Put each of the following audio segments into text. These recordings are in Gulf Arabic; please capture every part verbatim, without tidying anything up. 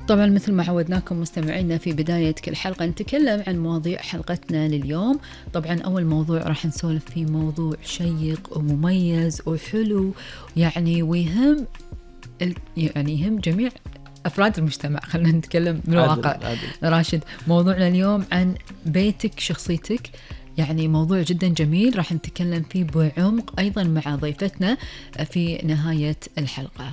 طبعا مثل ما عودناكم مستمعينا في بداية كل حلقة نتكلم عن مواضيع حلقتنا لليوم. طبعا أول موضوع راح نسولف فيه موضوع شيق ومميز وحلو يعني ويهم يعني يهم جميع أفراد المجتمع. خلينا نتكلم بالواقع. عادل عادل. راشد، موضوعنا اليوم عن بيتك شخصيتك، يعني موضوع جدا جميل راح نتكلم فيه بعمق أيضا مع ضيفتنا في نهاية الحلقة.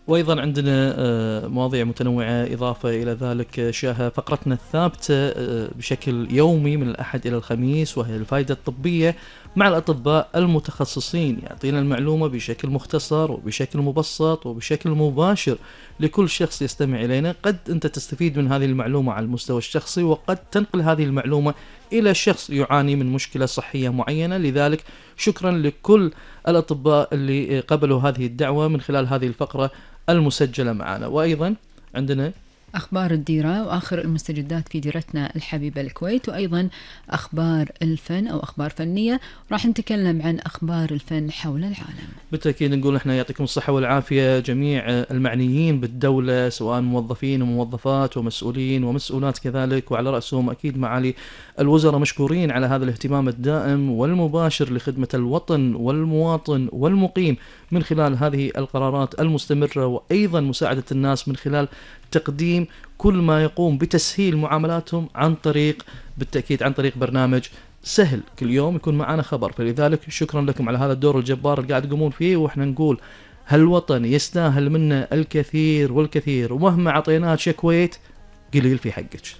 وأيضا عندنا مواضيع متنوعة إضافة إلى ذلك شاهة فقرتنا الثابتة بشكل يومي من الأحد إلى الخميس، وهي الفائدة الطبية مع الأطباء المتخصصين، يعطينا المعلومة بشكل مختصر وبشكل مبسط وبشكل مباشر لكل شخص يستمع إلينا. قد أنت تستفيد من هذه المعلومة على المستوى الشخصي، وقد تنقل هذه المعلومة إلى شخص يعاني من مشكلة صحية معينة. لذلك شكرا لكل الأطباء اللي قبلوا هذه الدعوة من خلال هذه الفقرة المسجلة معنا. وأيضا عندنا أخبار الديرة وآخر المستجدات في ديرتنا الحبيبة الكويت، وأيضا أخبار الفن أو أخبار فنية. راح نتكلم عن أخبار الفن حول العالم. بالتأكيد نقول إحنا يعطيكم الصحة والعافية جميع المعنيين بالدولة، سواء موظفين وموظفات ومسؤولين ومسؤولات كذلك، وعلى رأسهم أكيد معالي الوزراء، مشكورين على هذا الاهتمام الدائم والمباشر لخدمة الوطن والمواطن والمقيم من خلال هذه القرارات المستمرة، وأيضا مساعدة الناس من خلال تقديم كل ما يقوم بتسهيل معاملاتهم عن طريق بالتأكيد عن طريق برنامج سهل. كل يوم يكون معنا خبر، فلذلك شكرا لكم على هذا الدور الجبار اللي قاعد تقومون فيه. وإحنا نقول هالوطن يستاهل منا الكثير والكثير، ومهما عطيناه شكويت قليل في حقك.